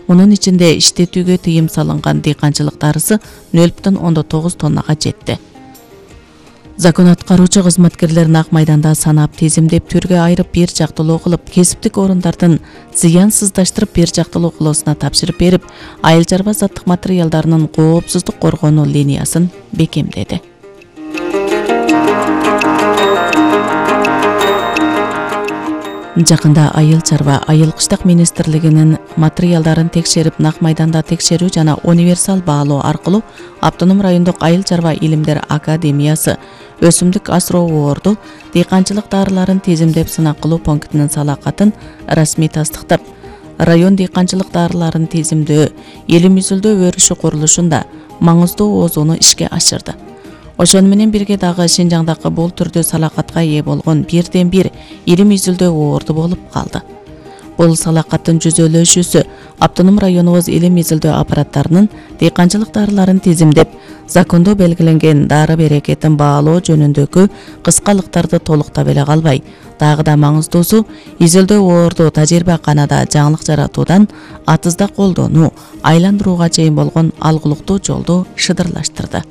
Мунун ичинде иштетүүгө тыйым салынган дыйканчылык дарысы 0,9 тоннага жетти. Закон аткаруучу кызматкерлер Ак майданда санап, тизимдеп, түргө айырып бир жактылуу кылып, кесиптик орундардын зыянсыздаштырып бир жактылуу кылуусуна тапшырып берип, айыл чарба заттык материалдарынын коопсуздук коргонуу линиясын бекемдеди. Жакында айыл чарба, айыл кыштак министрлигинин материалдарын текшерип, Ак майданда текшерүү жана универсал баалоо аркылуу Автоном райондук айыл чарба илимдер академиясы өсүмдүк асырооборду дыйканчылык дарыларын тизимдеп сынак кылуу пунктунун салакатын расмий тастыктап, район дыйканчылык дарыларын тизимдөө, элим изилдөө өрүшү курулушунда маңыздуу оозууну ишке ашырды. Ошону менен бирге дагы Шинжаңдагы бул түрдүү салакатка ээ болгон бирден бир илим изилдөө орду болуп калды. Бул салакаттын жүзөлөшүүсү Автоном районубуз илим изилдөө аппараттарынын дыйканчылык дарыларын тизимдеп, закондо белгиленген дары берекетин баалоо жөнүндөгү кыскалыктарды толуктап эле калбай, дагы да маңыздуусу изилдөө орду тажрыйбаканада жаңылык жаратуудан атызда колдонуу, айландырууга чейин болгон алгылыктуу жолду шыдырлаштырды.